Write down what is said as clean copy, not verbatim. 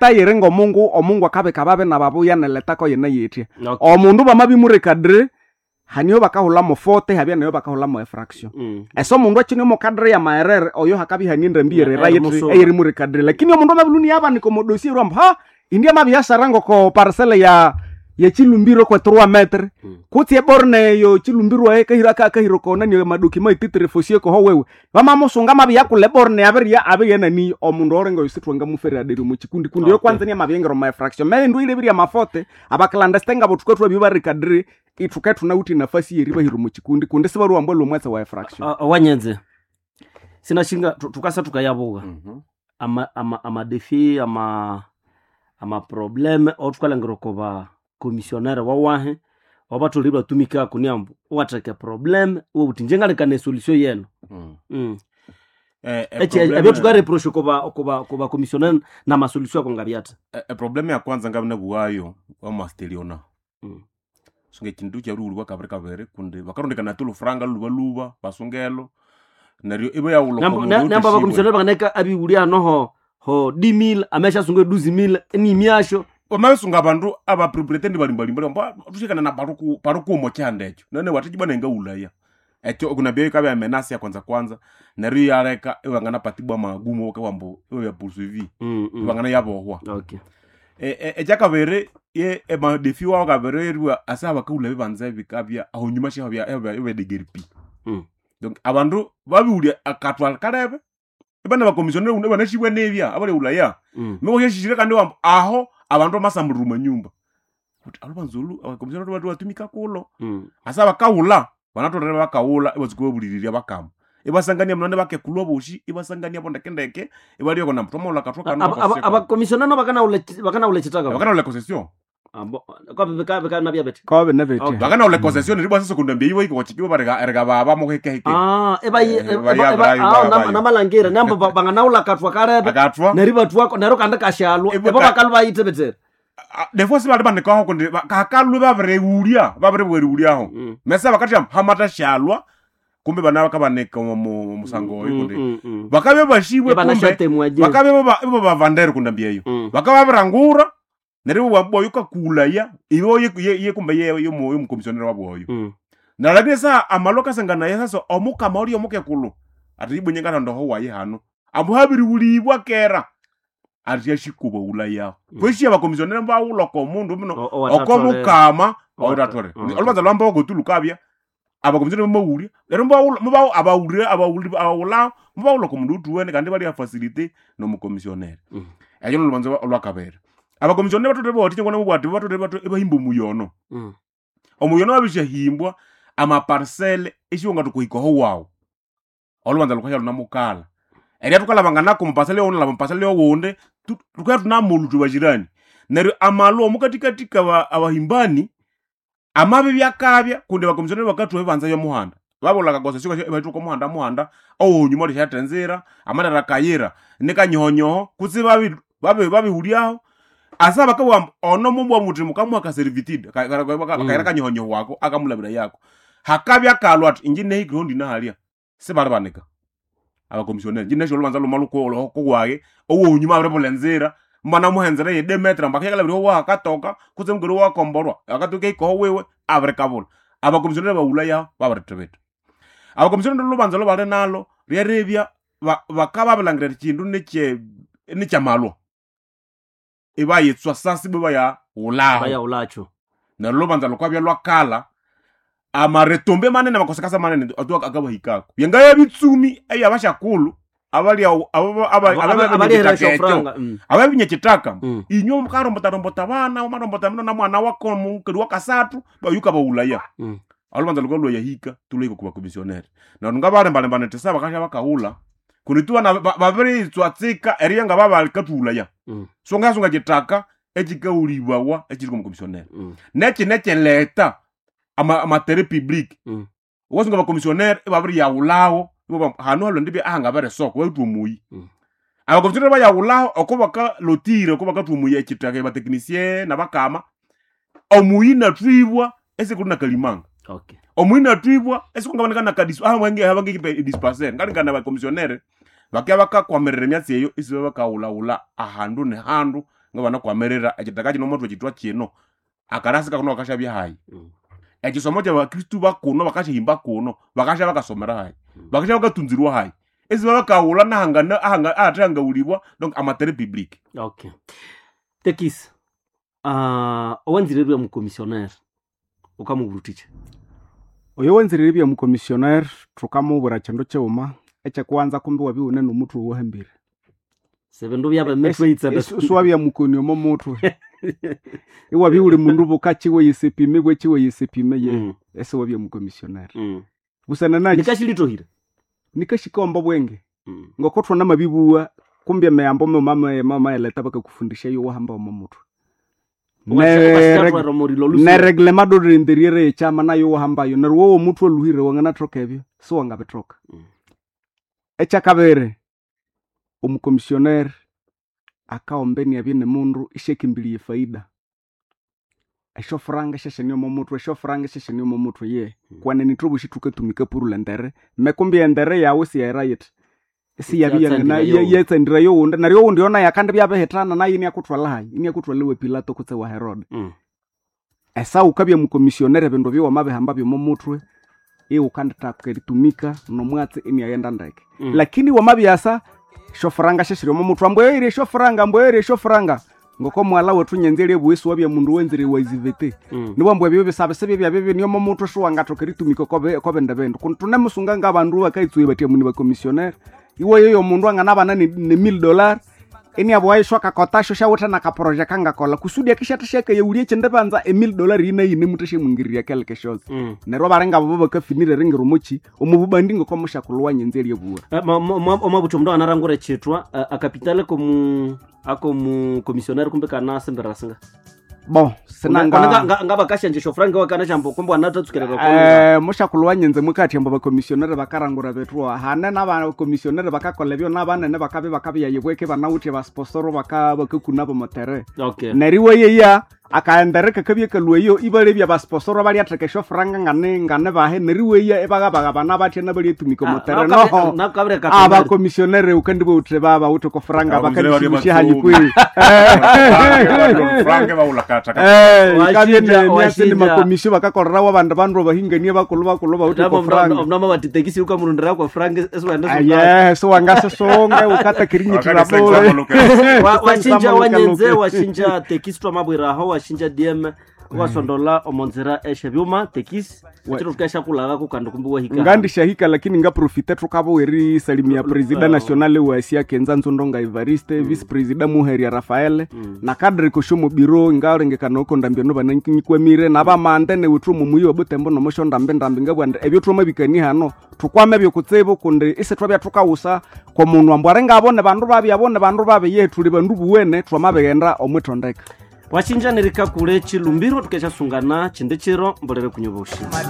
Leta yiri ngomungu, omungu akabika babi nababuya neleta ko yine yitya. Okay. Omundu bamabimure-cadrer, haniyo bakahulamo faute, habya nayo bakahulamo infraction. Ese omundu akine omo cadre ya maerere, oyo hakabya ihane endambi yerera Erimusuba. eyirimure-cadrer. Lakini omundu amabiluni yabanika omo dossier erwamba, ha, indi amabiasara ngoko parcelle ya yechilumbiro kwe 3 metre. Kutse eborne eyo chilumbiro aye kahira kahiro kona ni madokima ititre fosie koho wewe. Bamamusunga amabiyakula eborne abirya abirya nani omundu orenga yosithwa ngamufere aderi mu chikundi kundi yo Okay. kwanza ni amabiyengero ma fraction. Merindu ile birya mafote abaklandeste ngabo tukwe twa bibarecadre ithuke thunawuthi nafasi yeri bahiro mu chikundi kundi sibaruwambwa lomwatsa wa fraction. Wanyenze sinashinga tukasa tukayabuka ama ama amadefi ama amaprobleme othukalhangira oko ba commissionaire wawahe wabatholere ibatumikako niambu iwatheka eprobleme iwabugha wuthi inje ngalikana esolution yenu. Ebyo thukareprocha oko ba commissionaire namasolution ako ngabyathi. Eprobleme ya kwanza ngabya nabughayo wamasteriona. Sunga ekindu kyabirighulibwa kabiri kabiri kundi bakarondekana ati olhufuranga lhubalhuba basungelo neryo ibayaghulha oko mundu Namba othishibwe. abakomissionnaire banganeka abighulya hano ho 10000 ameshasunga 12000 nimyasho. Wamabisunga abandu abapropriété balimbalimba mba thushikana na parukumo kyihanda ekyo nene wathikibwa nengaghulaya ekyo okunabya ikabya emenasi ya kwanza kwanza neryo iyaleka ibanganapatibwa amagumu bakabugha ambu ibabya poursuivi. Ibanganayabohwa. Okay. Ekyakabiri ye emadefi wawu kabiri eribugha ase abakaghulha ebibanza bikabya ahonyuma syabya pi. Donc abandu babighulya akathwa kalebe ibane bakomissionnaire ibanasibwa nibya abalyaghulhaya. Muwasyashishire kandi iwamba aho abandu bamasambulira omwa nyumba wuthi alhubanza olhu abakomissionnaire batumika kulho. Asa bakaghulha banatholere ibakaghulha ibatsuka ibabuliriria bakama ibasangania munani bakekulhu abosi ibasangania bo ndekendeke ibalyoka nambu twamaghulha akathwa kano bakosesya Abakomissionnaire nabo bakanawulha ekithaka. Bakanawulha concession. Bikanabya bithi Kobe nebetya. Okay. Bakanawulha concession neryo ibwasasa okundambya eyi bahika okwakyikibo erikababa muhikehike. Namalhangira namba banganawulha akathwa kalebe akathwa neryo ibathwako neryo kandi kashalwa Ibwa ebo bakalwa bayithebethere. Defo sibali banikaho kundi kakalwe babirighulya babiribugha erighulyaho. Mesa bakathya hamatashalwa kumbe bana bakabanika omu musango oyo kundi bakabya bashibwe kumbe Ibanashatemwa je. bakabya ibabavandere kundambya eyo. Bakabya babirangura neryo ibabwa yukakulaya ibo ye kumbe ye yomukomissionnaire wabu oyo. Na lakini saa amalwa kasangana sasa omukama oli omukekulhu ati ibwe nyengathandoho wayi hano ambu habirighulibwa kera ati yashikuba ulayaho. Kwesi abakomissionnaire bawulha oko mundu muno oko mukama oyiratholere. Olhubanza lwambogo tu lukabya abakomissionnaire bamaghulya neryo mubawulha mubawu abawulire abawulhi abawulhaho mubawulha oko mundu othuwene kandi ibali facilité nomukomissionnaire. Ekyo nolhubanza olwakabiri. Abakomissionnaire batholere bawathikya ngoko nabubugha ati batholere ibahimba omuyono. Omuyono wabisyahimbwa amaparcelle esiwangathoka erihika oho wawu. Olhubanza lhukasya lunamukalha. Erya thukalhabanganako omuparcelle yoghunalhaba omuparcelle yoghundi thukabya thunamulhu ithwe bakirani. Neryo amalhu omukathikathi kaba abahimbani amabibya akabya kundi abakomissionnaire bakathuha ebibanza byomuhanda. Babulha akakoncession ibathwako omuhanda muhanda owohunyuma olisyaletha enzira amalere akayira nikanyohonyoho kutse babighulyaho asa bakabugha ambu ono mubugha muthi mukamuha akaservitude akayira kanyohonyoho wako akamulhabirayako. Hakabya kalhwa athi inje nahikire ndinahalya sibalibanika abakomissionnaire. Inje nasi olhubanza lhuma lhukuwayi owohunyuma abiribulha enzira mubanamuha enzira eye demetre ambu akyakalhabirya owahu akatoka kutse mukali wawu akomborwa akatoka erihika oho wiwe abirikabulha. Abakomissionnaire baghulhayaho babirithibitha. Abakomissionnaire olhubanza olhubali nalho lyeribya bakabya babirilhangira ekindu nikyamalhwa ibayitswa sasi ibwa ibayaghulhaho. Bayaghulhakyo. Neryo olhubanza lhukabya lwakalha amaretombe manene amakosekasa manene atu akabahikako. Byangabya bitsumi ebyabasyakulhu Abalihera esyofuranga. ababinya ekithaka inywe mukarombotarombota abana wamarombota mino namwana wako mukali wakasathu bayukabaghulhaya. Olhubanza lhukalhwayahika thulhahika okwa bakomissionnaire. Neryo ngabalembalemba nithi sa bakasya bakaghulha kundi tu babiritswa tsika eribya ngababakathulhaya. So ngasunga ekithaka ekikaghulibwawa ekiri okwa mukomissionnaire. Nekine ekyileta amatere public. Wukasunga abakomissionnaire ibabiriyaghulhaho ibabugha ambu hanu halhwendibya ahangabere esoko bawithe omuyi. Abakomissionnaire bayaghulhaho oko bakalotire oko bakathuha omuyi ekithaka abatechnicien nabakama omuyi inathwibwa esikuli nakalimanga. Okay. Omuyi inathwibwa esikungabanika ahangikipa edispensaire ngalingana abakomissionnaire bakabya bakakwamirira emyatsi eyo isibabakaghulhaghulha ahandu nehandu. Nga banakwamirira ekitaka kino omwathu ekitwa kino akarasi kakuno bakashabya hayi. Ekisomo kyabakristu bakuno bakashahimba kuno bakasha bakasomera hayi, bakasha bakatunzirwa hayi, esi babakawula nahangana ahathehangawulibwa, donc amatere public. Okay, tekisi owanzire bya mukomissionnaire ukamubura utiche? Oyo wenzirire bya mukomissionaire thukamubwira kindu kighuma ekyekuwanza, kumbi wabiwune nomuthwe owahambire. Sebindu byabemitwe yitsebe. Siwabya mukoni omo muthwe, iwabya wuli mundu bukakiwe yisipime bwekiwe yisipime ye. Esiwabya mukomissionaire busana naki? Nikashilitohire. Nikashikomba bwenge ngoko thwana mabibuwa kumbi emiyambo miuma maeleta bakakufundisha yo wahamba omo muthwe. Nereglema dorinderire ekyama nayo wahambayo, neryo wowo omuthwe oluhire wanganathoka ebyo siwangabithoka. Ekyakabiri, omukomissionnaire akaomba eniabya ni mundu isyakimbilya efaida, esyofuranga syashania omo muthwe, esyofuranga syashania omo muthwe ye. Kwenene ithwe bosi thukatumika purula endere mekumbi endere yawu siyayira yithi isiyabya Yatsandira yowundi. Yatsandira yowundi, neryo owundi yo naye akandibya abihithana naye iniakuthwala hayi, iniakuthwala wa Pilato kutse wa Herode. Esa wukabya mukomissionnaire ebindu ebyo wamabihamba byomo muthwe iwukandithaka eritumika nomwatsi iniaghenda ndeke. Lakini wamabyasa syofuranga syasiri omo muthwe, ambu eire esyofuranga, ambu eire esyofuranga, ngoko mwala wethu nyenze eryebuwa esiwabya mundu wenzire wa izivete. Niwambu ebyo bisabe sibye byabya bini omo muthwe, siwangathoka eritumika oko bindi bindu. Kundi thunemusunga ngabandu bakayitsuya bathi amuni bakomissionnaire, iwayoyo omundu anganabana ne $1000 iniabugha isyo akakotasyo syawithe nakaproje kangakolha kusudi akisyathasya akayawulya ekindi banza $1000 yine muthasyamungirirya keleke syosi. Neryo abalinga abo bakafinira eringira omoki omu bubandi ngoko mushakulhu wanyenze eryebuwa. Omwabuthi omundu anarangura echitwa akapitale komu akomu komissionnaire kumbe kana singa Bo sinanga ngabakashanje shofranka wakana shambo kumbe wanatatsukerera. Mushakulhu wanyenze mwikathi ambu bakomissionnaire bakarangura bethu hane n'abakomissionnaire bakakolha ebyo n'abanene bakabya bakabiyayibweke banawithe basposoro bakakuna bomotere. Okay. Neryo iwayeya akaendere kakabya kalweyo ibalebya basposoro balyatheka esyofuranga ngane ngane bahe, neryo iweya ibagabagabana batya nabalyatumika omotere noho. Nakabire. Abakomissionnaire ukandibawuthe babawuthe kofuranga Abakomissionnaire bakandishimusya bali hayi kwi. Franke bawulakataka. Ikabye nemyatsi Washinja. nemakomisio bakakolerawo abandu bandu bahingania bakulu bakulu bawuthe kofuranga. Omnama bati tekisi ukamurundira kwa frank esiwenda. Aye, siwangasisonga ukatakirinyitirira bule. Washinja wanyenze, washinja tekisi twamabwiraho, washinja dm wasondola omonzera eshebyuma tekisi chiro tukashakulagako kandi kumbe wahika. Ngandishahika lakini ngaprofite thukabo erisalimia presida nationale wa asia kenza nzondonga Evariste, vice presida Muheria Rafael na kadri kosho biro ngalengekana oko ndambia no bananyikwamire nabamande newithu mumuyi wa Butembo nomosho ndambe ndambe ngabwanda ebyo thwamabikani hano thukwame ebyokutsibu kundi isi thwabya thukawusa komundu ambu aringabo ne bandu babi abo ne bandu babi ye thuli bandu buwene thwamabighenda omwithondeka. Washinja nerikakule chilumbiro tukashasungana chindi chiro mbolere kunyoboshi. Mate.